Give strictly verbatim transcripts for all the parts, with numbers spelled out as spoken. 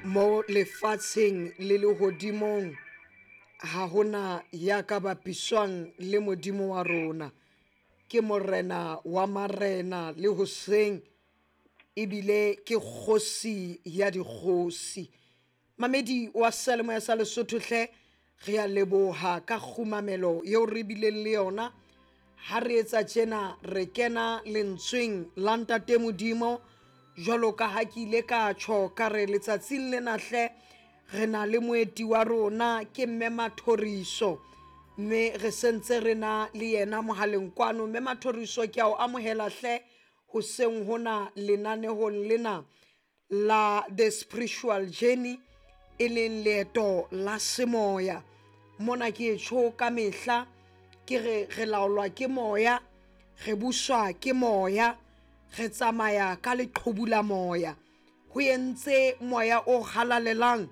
Mo lefatsheng le lehodimong ha hona ya ka bapiswang le Modimo wa rona. Ke morena wa marena le hoseng, ebile ke kgosi ya dikgosi. Mamedi wa seyalemoya sa Lesotho hle, re a leboha ka kgumamelo eo re bileng le yona. Ha re etsa tjena re kena lentsweng la Ntate Modimo, jwalo ka ha ke ile ka tjho ka re letsatsing lena hle re na le moeti wa rona ke Mme Mathoriso, mme re sentse re na le yena mohaleng kwano. Mme Mathoriso, ke a o amohela hle hoseng hona lenanehong lena la The Spiritual Journey, e leng leeto la semoya. Mona ke e tjho ka mehla ke re re laolwa ke moya, re buswa ke moya, re tsamaya ka leqhubu la moya. Ho entse moya o halalelang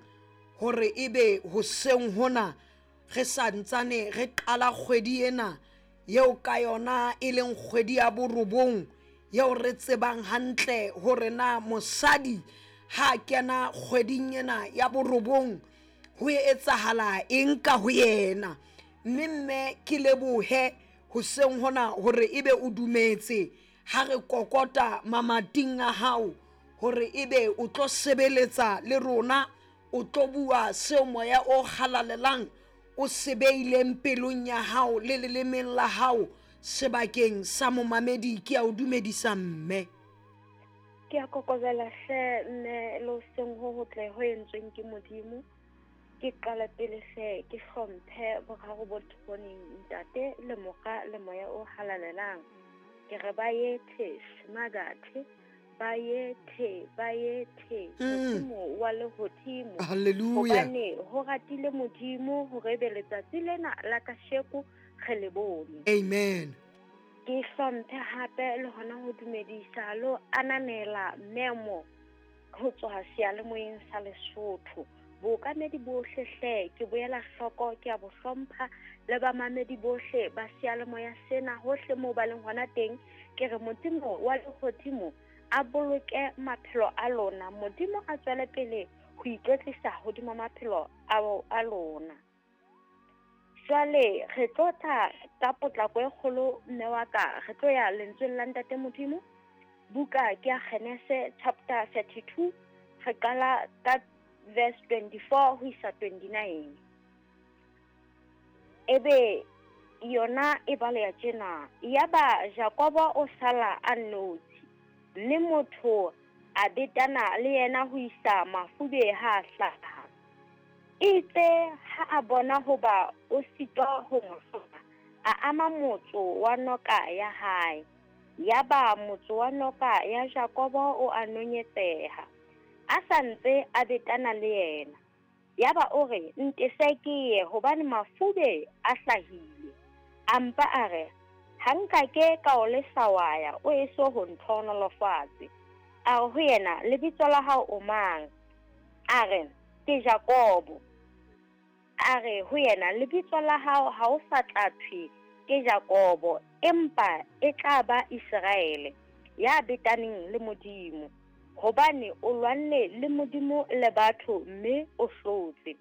hore ebe hoseng hona re santsane re qala kgwedi ena eo ka yona e leng kgwedi ya borobong, eo re tsebang hantle hore na mosadi ha kena kgweding ena ya borobong ho etsahala eng ka ho yena. Mme mme ke lebohe hoseng hona hore ebe o dumetse ha re kokota mamating a hao hore ebe o tlo sebeletsa le rona, o tlo bua seo moya o halalelang o se beileng pelong ya hao le lelemeng la hao sebakeng sa momamedi. Ke a o dumedisa mme. Ke a kokobela hle mme, le hoseng ho hotle ho entsweng ke Modimo. Ke qala pele hle ke hlomphe boraro bo thoneng, Ntate le Mora le Moya o Halalelang. Ke re ba yethe smagathe, ba yethe, ba yethe Modimo wa lehodimo. Hallelujah. Hobane ho ratile Modimo hore ebe letsatsi lena la kasheko re le bone. Amen. Ke hlomphe hape le hona ho dumedisa lo ananela memo ho tswa seyalemoyeng sa Lesotho. Bookamedi bohle hle ke boela hloko, ke a bo hlompha le bamamedi bohle ba seyalemoya sena hohle moo ba leng hona teng. Ke re Modimo wa lehodimo a boloke maphelo a lona, Modimo a tswele pele ho ikwetlisa hodima maphelo a lona. Jwale re tlo tla ka potlako e kgolo mme wa ka, re tlo ya lentsweng la Ntate Modimo. Buka ke ya Genese chapter thirty-two, re qala ka verse twenty-four ho isa twenty-nine. Ebe yona e baleha tjena: yaba Jakobo o sala a nnotshi, mme motho a betana le yena ho isa mafube ha a hlaha. Itse ha a bona hoba o sitwa ho mo hlola, a ama motso wa noka ya hae. Yaba motso wa noka ya Jakobo o a nonyetseha, a sa ntse a betana le yena. Yaba o re, ntese ke ye, hobane mafube a hlahile. A mpa a re, ha nka ke ka o lesa wa ya, o eso ho ntlhohonolofatse. A re ho yena, lebitso la hao o mang? A re, ke Jakobo. A re ho yena, lebitso la hao ha o sa tla thwe ke Jakobo, empa e tla ba Iseraele, ya betaneng le Modimo, hobane o lwanne le Modimo le batho mme o hlotse.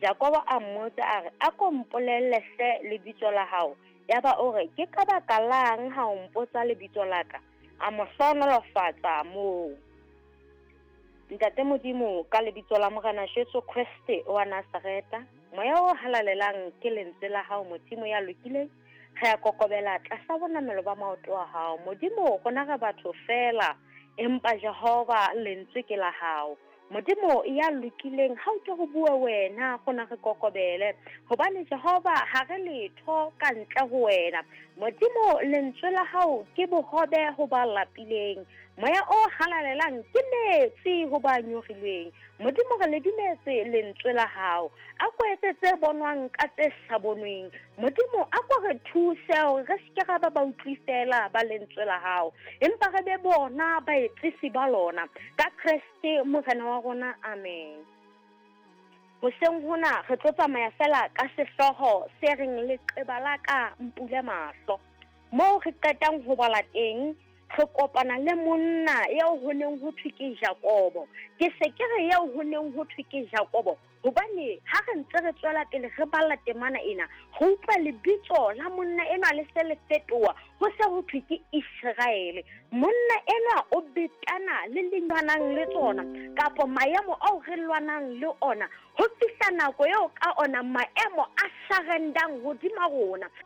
Jakobo a mmotsa a re, a ko mpolelle hle lebitso la hao. Yaba o re, ke ka baka lang ha o mpotsa lebitso la ka? A mo hlohonolofatsa moo. Ntate Modimo, ka lebitso la Morena Jesu Kreste wa Nazareta, moya o halalelang ke lentswe la hao Modimo ya lokileng, re a kokobela tlasa bonamelo ba maoto a hao. Modimo, rona re batho feela, empa Jehova lentswe ke la hao. Modimo ya lokileng, ha o ke ho bua wena, rona re kokobele, hobane Jehova ha re letho ka ntle ho wena. Modimo, lentswe la hao ke bohobe ho ba lapileng, moya o halalelang ke metsi ho ba nyorilweng. Modimo, re le dumetse lentswe la hao, a ko etse tse bonwang ka tse sa bonweng. Modimo, a ko re thuse hore re se ke ra ba ba utlwi feela ba lentswe la hao, empa re be bona baetsisi ba lona, ka Kreste Morena wa rona. Amen. Hoseng hona re tlo tsamaya fela ka sehlooho se reng leqeba la ka mpule mahlo. Moo re qetang ho bala teng, Re kopana le monna eo ho neng ho thwe ke Jakobo. Ke se ke re eo ho neng ho thwe ke Jakobo hobane ha re ntse re tswela pele re bala temana ena, re utlwa lebitso la monna enwa le se le fetoha, ho se ho thwe ke Iseraele. Monna enwa o betana le lwanang le tsona kapa maemo ao re lwanang le ona, ho fihla nako eo ka ona maemo a surrendang hodima rona.